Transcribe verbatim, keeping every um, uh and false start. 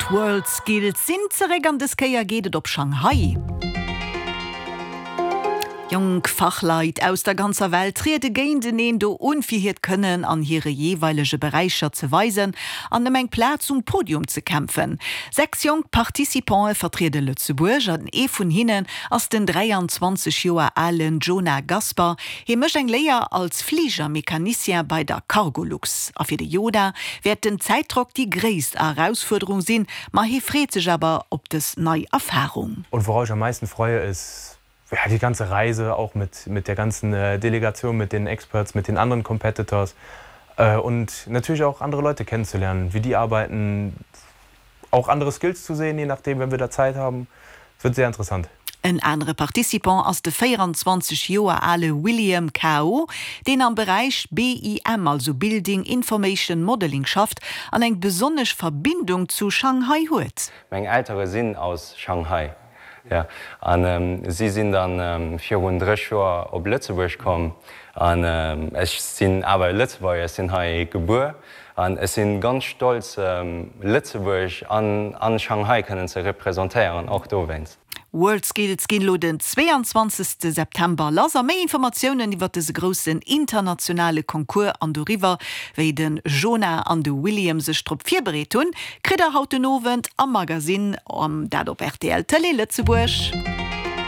D'WorldSkills sinn zeréck an dës Kéier geet et op Shanghai. Jonk Fachleit aus der ganzer Welt triede géinteneen do un, fir hiert Kënnen an hire jeeweilege Beräicher ze weisen an ëm eng Plaz um Podium ze kämpfen. Sechs jonk Participante vertriede Lëtzebuerg an ee vun hinnen ass den dräianzwanzeg Joer alen Jonah Gasper. Hie mécht eng Léier als Fligermecanicien bei der Cargolux. A fir de Jonah wäert den Zäitdrock déi gréisst Erausfuerderung sinn, ma hie freet sech awer op dës nei Erfarung. Und worauf ich am meisten freue ist ja, die ganze Reise auch mit, mit der ganzen äh, Delegation, mit den Experts, mit den anderen Competitors äh, und natürlich auch andere Leute kennenzulernen, wie die arbeiten, auch andere Skills zu sehen, je nachdem, wenn wir da Zeit haben. Es wird sehr interessant. En anere Participant ass de véieranzwanzeg Joer ale William Kao, deen am Beräich B I M, also Building Information Modeling schafft an eng besonnesch Verbindung zu Shanghai huet. Meng Eltere sinn aus Shanghai, jo, an si sinn dann virun dräi Joer op Lëtzebuerg komm an ech sinn awer Lëtzebuerger, sinn hei gebuer an ech sinn ganz stolz, Lëtzebuerg an an Shanghai kënnen ze representéieren, och dowéinst. WorldSkills ginn elo den zweeanzwanzegste September lass a méi Informatiounen iwwer dëse groussen internationale Concours an doriwwer, wéi den Jonah an de William sech drop virbereet hunn, kritt der haut den Owend am Magasinn, dat op R T L Tëlee Lëtzebuerg.